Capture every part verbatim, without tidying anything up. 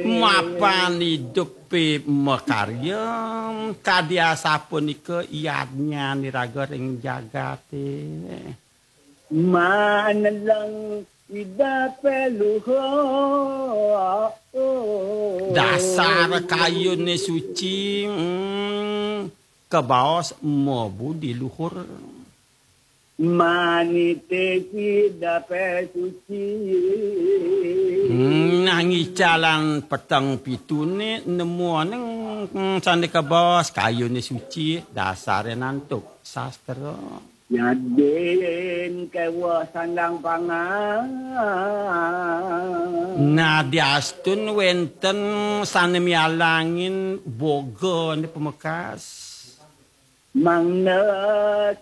Mapan idup makarya, kadi asapunika yadnyan iraga ring jagate. Maneleng idape luhur. Dasar kayune suci, mm, kabaos mabudi luhur. Manite idape suci. Mm, nang icalan peteng pitune nemuaning, mm, sane kabaos kayune suci, dasare nantuk sastra. Yadin keweh sandang pangan. Nadiastun wenten sane mialangin bogane pamekas. Mangda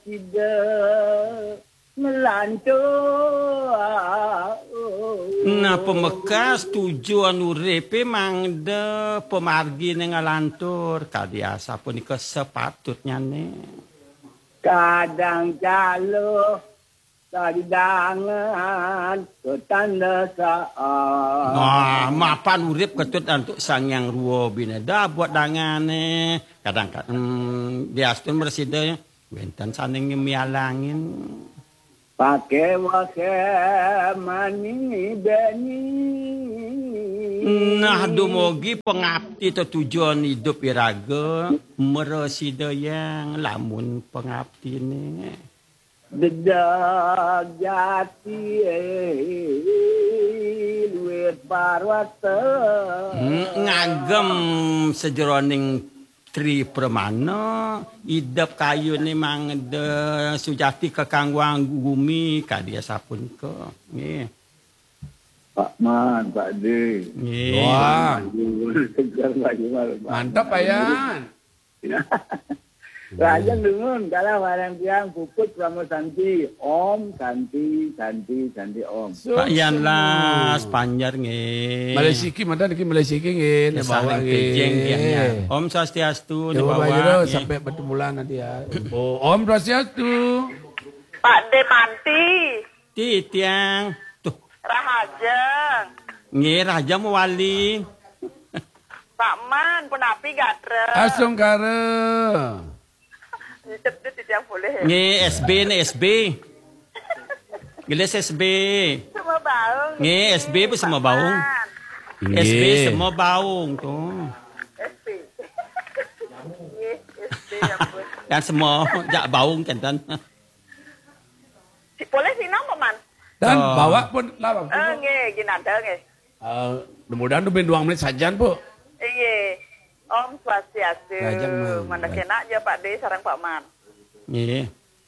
sida nglantur. Nah, pamekas tujuan uripe mangda pamargine nglantur, kadi asapunika sapatutnyane. Kadang caluh kadidangan ketandasaan. Nah, mapan urip ketut antuk Sang Hyang Rua Bineda buat dangane. Kadang ka-, hmm, diastun mresida wenten sane mialangin. Pake wake mani beni. Nah, dumugi pangapti tetujon idup iraga, mresida yang lamun pangaptine. Dedag jati, eh, luwih parwata. Hmm, ngagem sajeroning Tri Pramana, idep kayune mangda sujati kakangguang gumi, kadi asapunika. Nggih. Pak Man, Pak De. Nggih. Wah. Segar Pak Jumal, Pak. Mantap, Pak Yan. Lajeng dumun, kalah bareng tiang puput Pramod Santi. Om Santi, Santi, Santi Om. Pak Yan Las, Panjar nggih. Malih siki, mantan niki malih siki nggih, nek bawa nggih. Pejeng nggih, ya. Om Swastiastu, nek bawa nggih. Sampai bertemu nanti ya. Oh, Om Swastiastu. Pak De Manti. Titiang. Tuh. Rahajeng. Nggih, Rahajeng mawali. Pak Man, punapi gatra? Astungkara. Nitip tu titiang boleh, ya? Nggih, S B nih, S B. Gelis S B. Semua baung. Nggih, S B pun semua baung. Pak Man. S B nggih. Semua baung tuh. S B. Nggih, S B, ya ampun. Kan semua jak baung kenten. Si-, boleh sinau, Pak Man? Dan oh. Bawa pun lah, Pak. Eh, nggih, ginanda, nggih. Eh, mudah-mudahan tuh ben duang menit sajan, Bu. Iya. Om Swastiastu. Lajeng, Mang. Mandek enak ya, Pak De, sareng Pak Man. Nggih.